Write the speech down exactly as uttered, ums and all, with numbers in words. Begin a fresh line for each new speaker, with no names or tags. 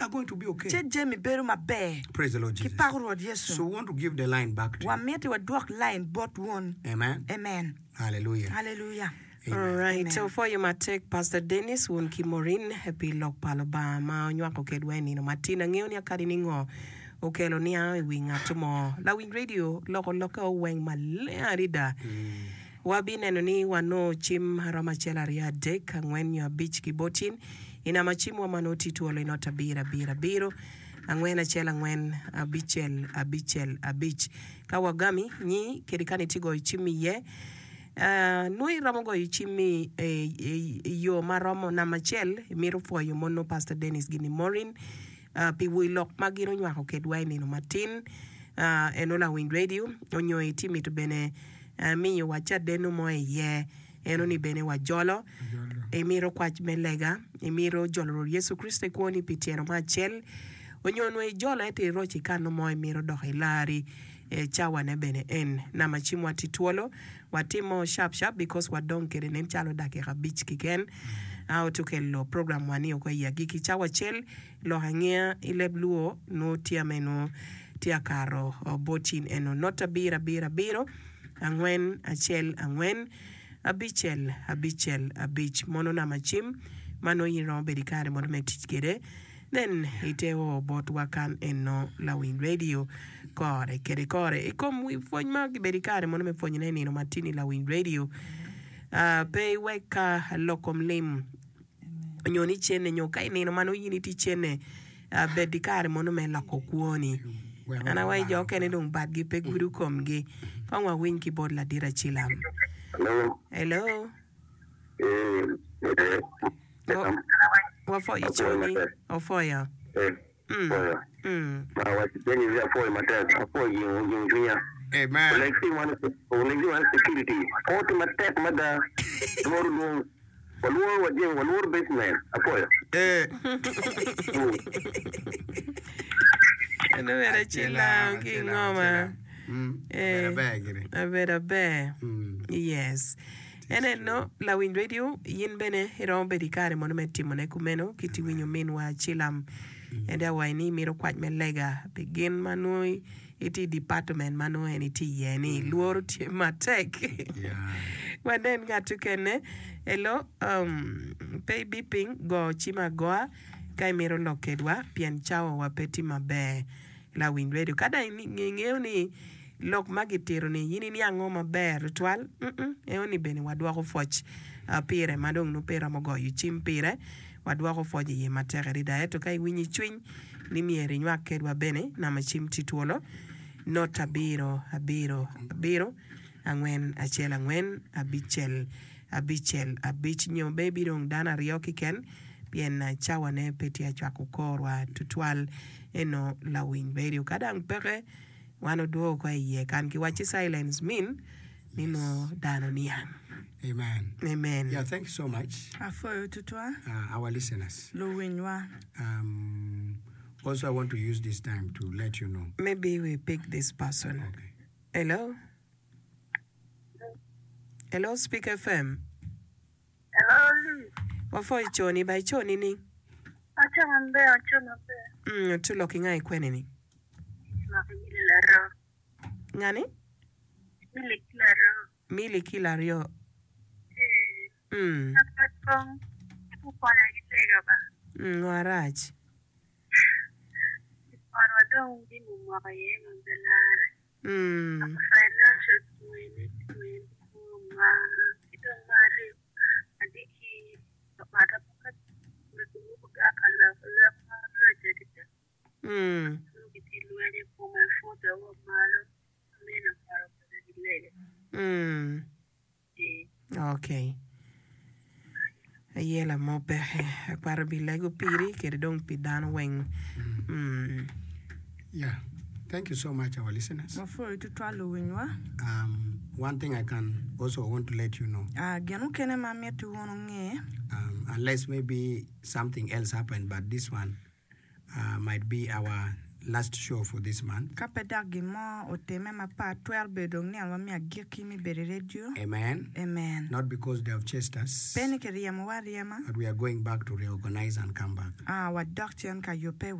are going to be okay.
Ce jami bedo maber.
Praise the Lord
Ki
Jesus.
pako Rwot Yecu.
So we want to give the line back to you.
Wamiti wadwok line bot wun.
Amen.
Amen.
Hallelujah.
Hallelujah.
Amen.
Alright,
Amen.
opwoyo matek Pastor Dennis wun ki Maureen pi lok pa Lubanga ma onywako kedwa i nino matin. Angeyo ni akadi ni ngo okelo niango i wi ngat mo. Lawiny radio loko lokke oweng maleng adada. Wabineno ni wanongo cim aromo acel aryo adek angwen nyo abic ki bot in i namba cimwa ma nongo tye twolo i not abiro abiro abiro angwen acel angwen abicel abicel abic. Ka wagami nyi kede ka nitye goyo cim iye, nongo iromo goyo cimmi i yo ma romo namba acel imito pwoyo mono Pastor Dennis gini Maureen pi wi lok ma gin onywako kedwa i nino matin eno lawiny radio onyo itye mito bene miyo wa cadenno mo iye eno ni bene wajolo imito kwac me lega imito jolo Rwot Yecu Kricito i kwoni pi tyeno mo acel onyo onongo ijolo ento iroco ikano mo imito dok ilari e cawane bene en namba cimwa tye twolo watimo sharp sharp because wadong kede nen calo dakika abic keken a otukelo program wa ni oko i agikki cawa acel lok angeya i leb luo nongo tye ame nongo tye akato bot in eno not abiro abiro abiro angwen acel angwen abicel abicel abic mono namba cim ma nongo in iromo bedo i kare mono me tic kede then ite o botwa kan eno lawiny radio kore kede kore i kom wi pwony ma kibedo i kare mono me pwonyone i nino matini lawiny radio uh, pe iwek ka lok kom lim nyo ni cene nyo ka i nino ma nongo in itye cene uh, bed i kare mono me loko kwoni
Wek
an awaci jo
obaro.
okene dong badgi pe gudo komgi kong wawiny ki bot ladit acilam
Hello.
hello
Eh, eh,
Wa- wapwoyo
apwoyo
coni
matek.
opwoyo
Eh,
mm.
apwoyo.
Mm.
Ma waci Dennis apwoyo matek. Apwoyo jingo jingo cwinya.
Amen.
Olek wan olek wan security. Koti matek mada. Luoro dong. Waluoro wajeng waluoro basement. Apwoyo.
Eh.
Mm.
Eno bedo acilam ki
Acilam,
ngoma
acilam. Mm.
Eh,
Abedo aber gire.
abedo aber
Mm.
yes en eno lawiny radio in bene iromo bedo i kare mono me timone kumeno kiti winyo minwa acilam ende awaci ni imito kwac me lega pi gin ma nongo itye i department ma nongo en itye iye ni luoro tye matek
Yeah.
wanen ngat okene hello um, pe ibi piny go cim agoa ka imito lok kedwa pien cawa wa pe tye maber lawiny radio ka dong ingeyo ni lok ma gitito ni in iniango maber tutwal mm -mm, eno ni bene wadwoko pwoc uh, pire ma dong nongo pe iromo goyo cim pire wadwoko pwoc iye matek adada ento ka iwinyo i cwiny ni myero inywak kedwa bene namba cim tye twolo not abiro abiro abiro angwen acel angwen abicel abicel abic nyo be bidong dano aryo kiken pien uh, cawane pe tye acwako korwa tutwal eno lawiny radio ka dang peke wan odwogo ko iye kan kiwaci silence mean ni nongo dano niang
Amen.
amen
Yeah, thank you so much,
Apwoyo tutwal.
uh, our listeners.
Luwinywa.
Um, also, I want to use this time to let you know.
maybe we pick this person
Okay.
hello hello speak fm
Hello, Liz.
wapwoyo coni ba iconi ni
Aco maber, aco maber.
mm, tu lok inga ikwene ni
Lok Mili Laro.
ngani
Mili Laro.
mili kilo aryo
Eh,
mm.
apat kong ukonya gi lega ba.
mm, ngo arac
Ot wadong jami omoko iye ma pe lare.
mm.
Financial twene twene ma ki dong mar aryo atye ki ot ka loko lok marac adada.
Mm.
Nongo gitye lweny i kome pute wa malo amino paro konya gi lega.
Mm.
Eh,
okay ayela mo peke akwaro bi lego piri kede dong pi dano weng mm.
Yeah. Thank you so much, our listeners.
Wapwoyo tutwal luwinywa.
Um, one thing I can also want to let you know,
Ah, gin mukene ma miti wun unge
um, unless maybe something else happened, but this one uh, might be our last show for this month.
ka pe dok gin mo otime mapat twero bedo dong nino wa me agikki me bedo i radio
Amen.
amen
Not because they have chased us,
pe ni kiryemowa aryema
but we are going back to reorganize and come back.
ah, wadok cen ka yubbe